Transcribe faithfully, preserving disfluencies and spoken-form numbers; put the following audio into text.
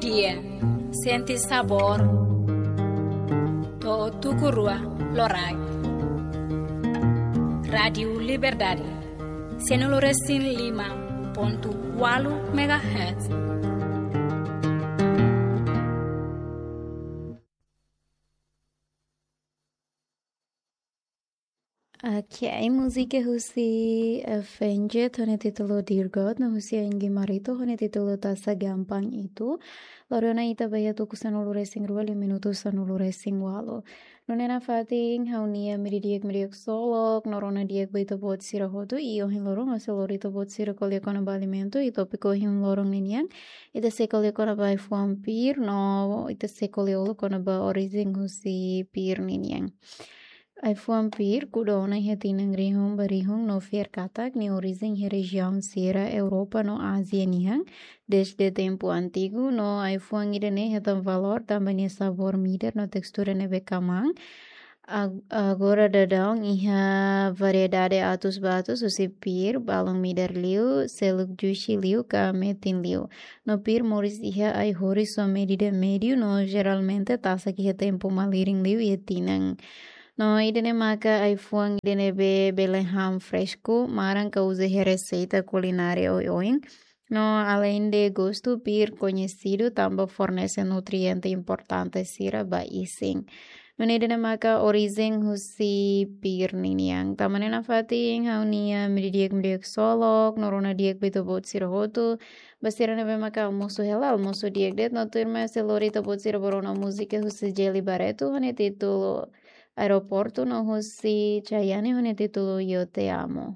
Dia, sente sabór. To'o tuku rua loraik. Rádiu Liberdade, sanulu resin lima pontu ualu megahertz. Ok, múzika husi, eh, Fenjet, ho nia títulu Dear God, no husi Angie Marito, ho nia títulu Taxa Gampang Itu. Lori ona ita ba iha tuku sanulu resin rua, liu minutu sanulu resin ualu. Nune'e nafatin, ha'u-nia meiudia di'ak, meiudia di'ak ksolok, no rona di'ak ba ita-boot sira hotu, i ohin loron, ha'u sei lori ita-boot sira ko'alia kona-ba alimentu, i tópiku ohin loron ninian, ita sei ko'alia kona-ba ai-fuan pir, no ita sei ko'alia uluk kona-ba orijen husi pir ninian. Ai-fuan pir, kuda ona iha tinan rihun ba rihun no fiar katak nia orijen iha rejiaun sira Europa no Ázia nian, dezde tempu antigu, no ai-fuan ida-ne'e hetan valór tanba nia sabór midar no testura ne'ebé kamaan. Ag-, agora daudaun iha variedade atus ba atus husi pir, balun midar liu, seluk jushi liu, ka metin liu. No pir moris iha ai-horis ho medida médiu, no jeralmente tasak iha tempu malirin liu iha tinan. No ida-ne'e maka ai-fuan ida ne'ebé bele han fresku, maran ka uza iha reseita kulinária oioin. No aleinde gostu, pir koñesidu tanba fornese nutriente importante sira ba isin. Nune'e ida-ne'e maka orijen husi pir ninian. Tanba ne'e nafatin ha'u-nia meiudia di'ak, meiudia di'ak ksolok, no rona di'ak ba ita-boot sira hotu. Ba sira ne'ebé maka almosu hela, almosu di'ak de'it, no tuirmai sei lori ita-boot sira ba rona múzika husi Gelly Barreto, ho nia títulu Aeroportu, no husi Chayanne, ho nia títulu Yo Te Amo.